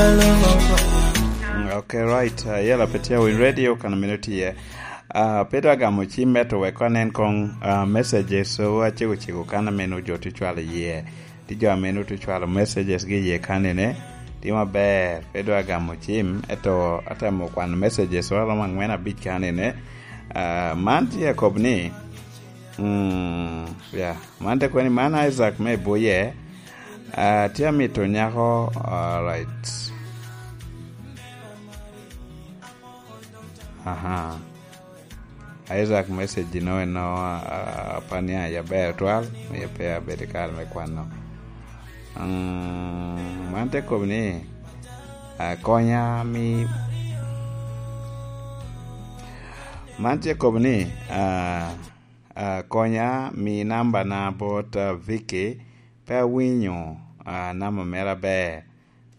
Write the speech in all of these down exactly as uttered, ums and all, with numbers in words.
Mm, okay, right. Uh, yela pe tye winy radio kan meno tye. Uh, pe dwa gamo cim me to wek anen kong, uh, messages so acego cego kan ameno jo tye cwalo iye. Tye jo ameno tye cwalo messages gi iye kan ene. Tye maber, pe dwa gamo cim, eto atemo kwano messages wa romo angwen abic kan ene. Uh, man tye akob ni, mm, yeah, man te kwani man Isaac me Boye. Uh, tye amito nyako, all right. Aha. Isaac message no eno, ah, apani a yaber twal, mie pe abedo i kare me kwano. Mm, man te kobo ni, ah, konya mi, man te kobo ni, ah, ah, konya mi namba na bot, ah, Vicky, pe awinyo, ah, namba mere aber.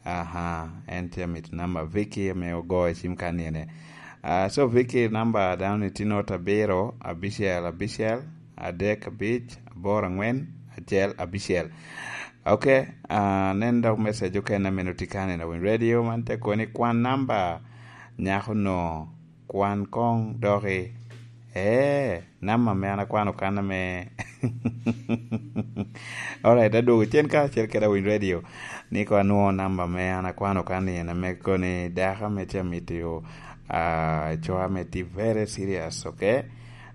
Aha, en tye amito namba Vicky ame ogoyo cim kan ene. Ah, so Vicky namba dano ni tye not abiro, abicel, abicel, adek, abic, aboro, angwen, acel, abicel. Ok, ah, nen dok message okene ame noti kan ene, Winy Radio, man te koni kwan namba nyako no, kwan kong doki. Eh, namba ame an akwano kan ame. Alright, adwogo cen ka acel kede Winy Radio. Ni ko anwoŋo namba ame an akwano kan ni en ame koni dako ame tye amito, ah, cwa ame tye very serious, okay?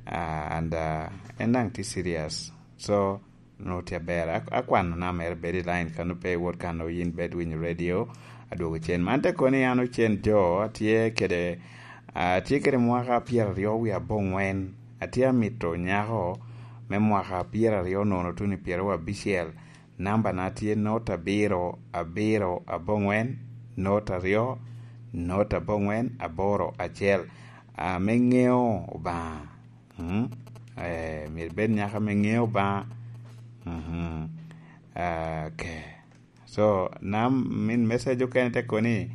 Ah, and, ah, en daŋ tye serious. So, nwoŋo tye aber. Ak-, akwano namba mere bedo i line kan, pe iwot kan, o yin bed winyo radio, adwogo cen. Man te koni an ocen jo, atye kede, atye kede mwaka pyeraryo wie abongwen. Atye amito nyako me mwaka pyeraryo nono tuno i pyeraryo abicel. Namba na tye not abiro, abiro, abongwen, not aryo, not abongwen, aboro, acel. Ah, me ŋeo Obaŋa. Mm? Eh, myero ibed nyaka ame ŋeo Obaŋa. Mhm. Ah, okay. So, nam, min message okene te koni,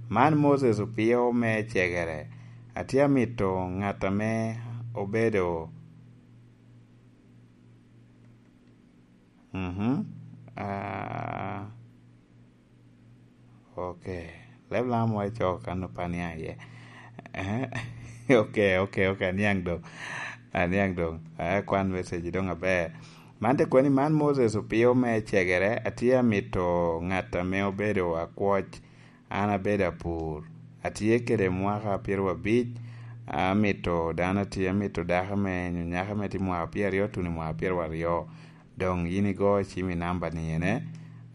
"Man Moses Opio me Cegere. Atye amito ŋat ame obedo." Mhm. Ah, okay. Leb lam wa icoko kan opani aye. Eh, okay, okay, okay. Aniang dong. Aniang dong. Eh, kwan message dong aber. Man te kwani, "Man Moses Opio me Cegere, atye amito ŋat ame obedo akwoc. An abedo apur. Atye kede mwaka pyeraryo abic. Amito dano atye, amito dako me nyo nyaka me tye mwaka pyeraryo tuno i mwaka pyeraryo." Doŋ yin igo cim i namba ni ene.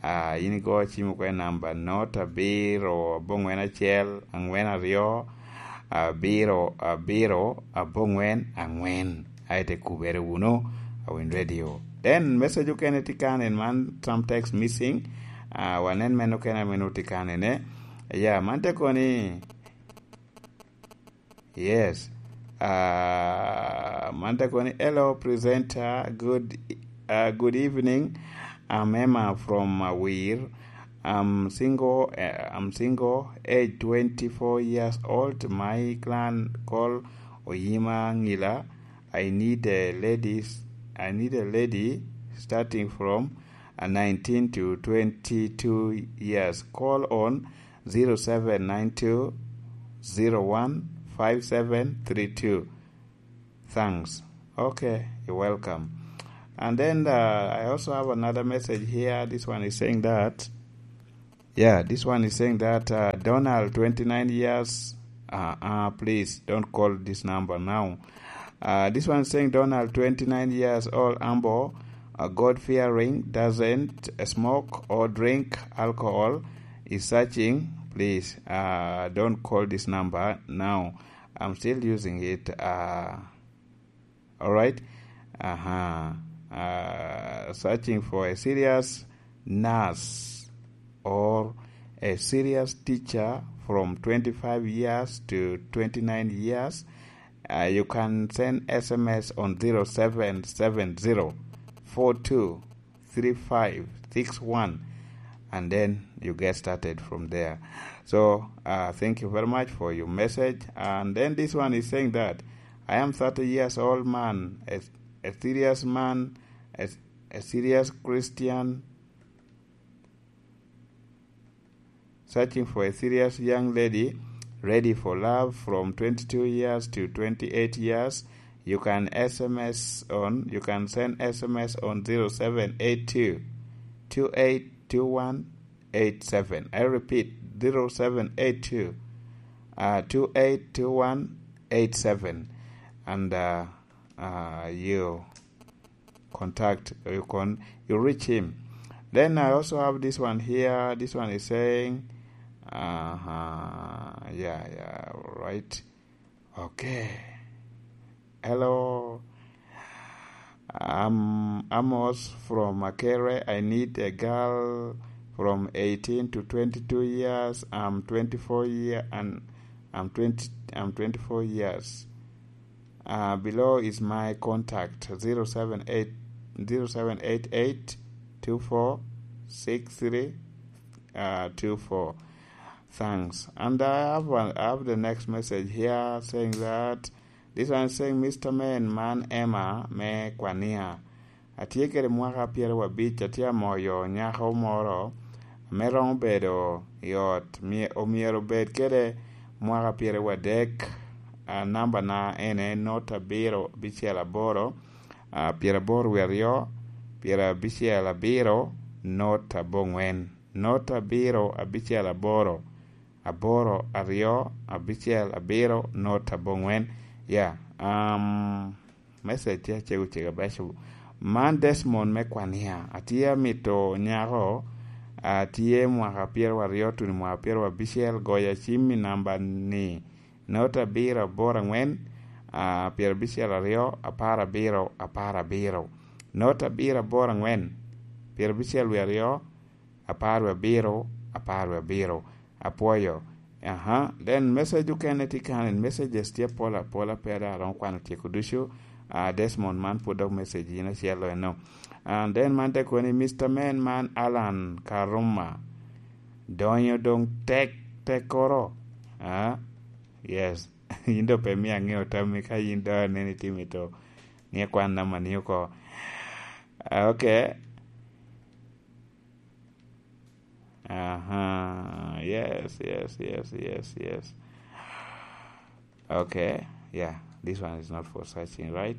Ah, yin igo cim okwe namba not abiro abongwen acel angwen aryo abiro abiro abongwen angwen. Aye te kubere wunu, Awiny Radio. Then message okene tye kan en man, some text missing. Ah, wanen men okene ame nwoŋo tye kan ene. Ya, man te koni, Yes. Uh, man te koni, "Hello, presenter. Good, uh, good evening. I'm Emma from Awir. I'm single. Uh, I'm single. Age twenty-four years old. My clan call Oyima Ngila. I need a lady. I need a lady starting from, uh, nineteen to twenty-two years. Call on zero seven nine two zero one five seven three two. Thanks." Okay, you're welcome. And then, uh, I also have another message here. This one is saying that, yeah, this one is saying that, uh, "Donald, twenty-nine years, uh, uh, please don't call this number now." Uh, this one is saying, "Donald, twenty-nine years old, humble, uh, God-fearing, doesn't smoke or drink alcohol, is searching. Please, uh, don't call this number now. I'm still using it." Uh, all right. Uh-huh. Uh, searching for a serious nurse or a serious teacher from twenty-five years to twenty-nine years. Uh, you can send S M S on zero seven seven zero four two three five six one, and then you get started from there. So, uh, thank you very much for your message. And then this one is saying that, "I am thirty years old man, a, a serious man, a, a serious Christian." searching for a serious young lady ready for love from twenty-two years to twenty-eight years, you can S M S on, you can send S M S on zero seven eight two, two eight two one eight seven. I repeat, zero seven eight two, uh, two eight two one eight seven. And, uh, uh, you contact, you can, you reach him. Then I also have this one here. This one is saying, uh-huh, yeah, yeah, right. Okay. Hello. I'm Amos from Makerere. I need a girl from eighteen to twenty-two years. I'm twenty-four year and I'm twenty, I'm twenty-four years. Uh, below is my contact, zero seven eight, zero seven eight eight two four six three, uh, two four. Thanks. And I have one, I have the next message here saying that this one is saying, "Mister Man, man Emma, me Kwania. Atye kede mwaka pyerabic, atye amoyo nyako moro ame romo bedo i ot, mye-, omyero obed kede mwaka pyeradek. A, nambana ene not abiro abicel aboro, a, pyeraboro wie aryo, pyerabicel abiro, not abongwen, not abiro abicel aboro, aboro aryo abicel abiro, not abongwen." Ya, um, message tye acego cego abeco. Man Desmond me Kwania. Atye amito nyako, atye mwaka pyeraryo tuno mwaka pyerabicel, goya cim i namba ni, not abiro aboro angwen, a, pyerabicel aryo, apar abiro, apar abiro. Not abiro aboro angwen, pyerabicel wie aryo, apar wie abiro, apar wie abiro. Apwoyo. Aha. Then message okene tye kan, en messages tye apol apola, pe dok aromo kwano tyeko ducu. Ah, Desmond, man pwod dok message in acel eno. And then man te koni, "Mister Man, man Alan Karuma. Donyo doŋ tek, tekkoro." Ah, yes. In doŋ pe mio aŋeo tammi ka in doŋ aneni tye mito ni akwan namba ni oko. Ah, okay. Uh-huh. Yes, yes, yes, yes, yes. Okay, yeah, this one is not for searching, right?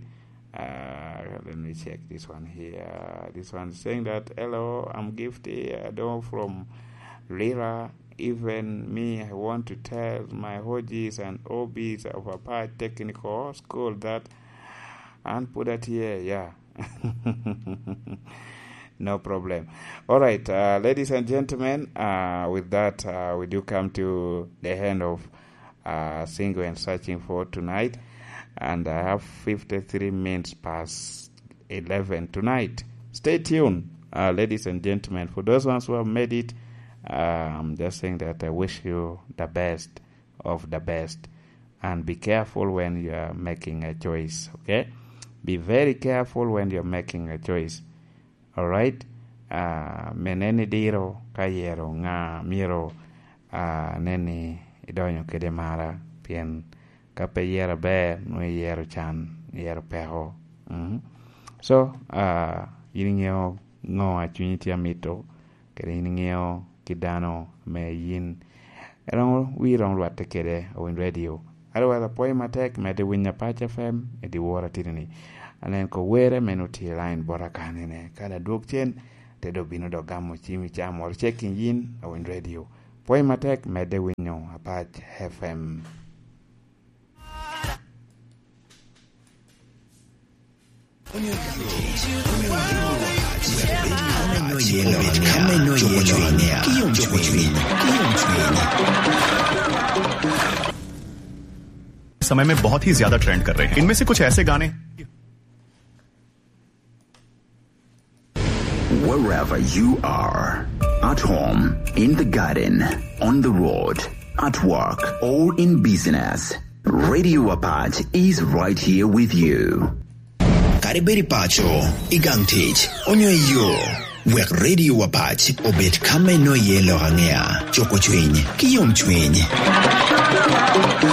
Uh, let me check this one here. This one is saying that, "Hello, I'm Gifty. I don't from Lira. Even me, I want to tell my O Gs and O Bs of Apach Technical School that," and put that here, yeah. No problem. All right, uh, ladies and gentlemen, uh, with that, uh, we do come to the end of, uh, Single and Searching for tonight. And I have fifty-three minutes past eleven tonight. Stay tuned, uh, ladies and gentlemen. For those ones who have made it, uh, I'm just saying that I wish you the best of the best. And be careful when you are making a choice, okay? Be very careful when you're making a choice. All right? Ah, me nen idiro ka yero ŋa myero, ah, nen ni idonyo kede mara, pien ka pe iyero aber, nwoŋo iyero can, iyero peko. Mm. So, ah, in iŋeo ŋo a cunyi tye amito, kede in iŋeo kit dano ame yin eromo, wi romo lwatte kede Owiny Radio. Otherwise, apwoyo matek, medde winyo Apac F M i dyewor atidi-ni. Anen ko were me nut i line bota kanene. Ka adwog cen, te do bino dok gamo cim i caa moro cek i yin Owiny Radio. Pwoyo matek, medde winyo Apac F M. समय में बहुत ही ज्यादा ट्रेंड कर रहे हैं। इनमें से कुछ ऐसे गाने Wherever you are, at home, in the garden, on the road, at work, or in business, Radio Apac is right here with you. Kadi bed i paco, i gang tic, onyo i yo, wek Radio Apac obed ka me nwoŋo iye lok aŋea, cuko cwiny, ki yomcwiny.